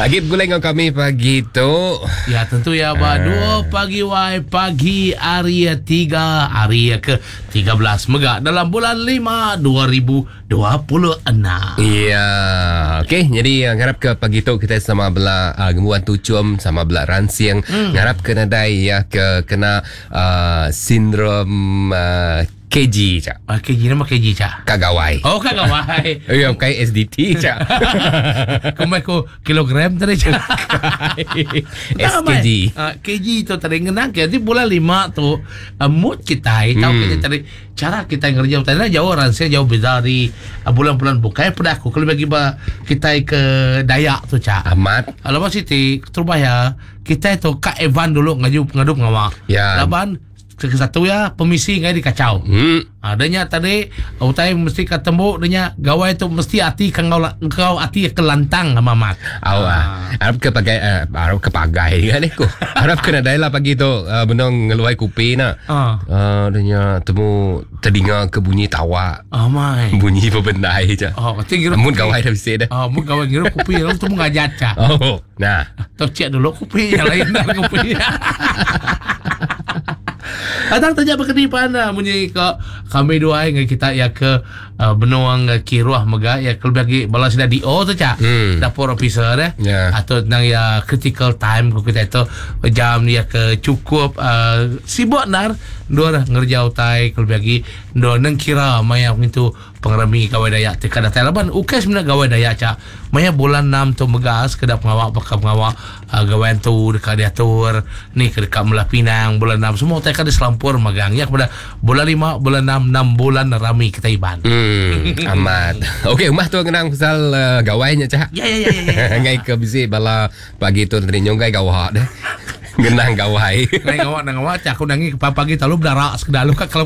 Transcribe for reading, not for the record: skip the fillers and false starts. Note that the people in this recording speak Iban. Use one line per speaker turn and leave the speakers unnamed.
Agi begulai enggau kami pagi tu.
Ya tentu ya ba 2 pagi wai pagi hari 3 hari ke 13 mega dalam bulan 5 2026.
Ya, okey. Jadi eh, ngarap ke pagi tu kita sama bela uh, ngembuan tuchum, sama bela ransing, hmm. ngarap ke nadai ya ke kena uh, sindrom uh, KG cak.
Ah, KG nama KG cak.
Kak gawai.
Oh, kak gawai.
Ya, bukan SDT cak.
Kumai ku kilogram tadi cak.
SKG.
Uh, KG tu tadi ngenang ke bulan 5 tu uh, mood kita tahu hmm. kita tadi Chara kitai ngereja utai enda jauh ransing jauh beza ari bulan-bulan bukai peda aku kelebih agi ba kitai ke Dayak tu cha.
Amat.
Laban siti keterubah iya kitai tu ka advance dulu ngaju ngadu pengawa.
Ya.
Laban ke satu iya pemisi enggai dikachau.
Hmm.
Ha dah nya tadi utai mesti ka tembu dah nya gawai tu mesti ati ke enggau enggau ati ke lantang amat amat.
Au ah. Arap ke pagai uh, arap ke pagai kan aku. Arap ke nadai lah pagi tu uh, benung ngeluai kupi na.
Ah.
Uh, dia nya temu terdinga ke bunyi tawa.
Oh my.
Bunyi bebendai je.
Oh, kata ngirup
Mun
kopi.
gawai dah bisi dah.
Oh, mun gawai ngirup kopi lalu temu ngajat ca.
Oh, nah.
Tau cek dulu kopi yang lain dah kopi. Atang tanya berkeni pan ah, munyi ke kami dua dengan kita ya ke uh, benuang uh, kiruah mega ya ke lebih lagi bala sida DO tu cak.
Hmm.
Dapur officer eh.
Ya.
Atau tentang ya critical time ku kita tu jam ya ke cukup uh, sibuk nar dua ngerja utai ke lebih lagi dua neng kira maya ngintu Pengerami Gawai Dayak ti ka datai laban ukai semina Gawai Dayak aja. Maya bulan enam tu mega sekeda pengawa baka pengawa uhh Gawai Antu deka diatur, ni ke deka melah pinang bulan enam semua utai ka diselampur magang nya kepada bulan lima, bulan enam, enam bulan rami kitai Iban.
Hmm, amat. Okey, umbah tu ngenang pasal uh, gawai nya cak.
Ya ya ya ya. ya.
Ngai ke bisi bala pagi tu tadi nyunggai gawa deh. Ngenang gawai.
Ngai gawa nang gawa cak aku nangi ke pagi-pagi lalu bedarak sekeda lu ka kalau.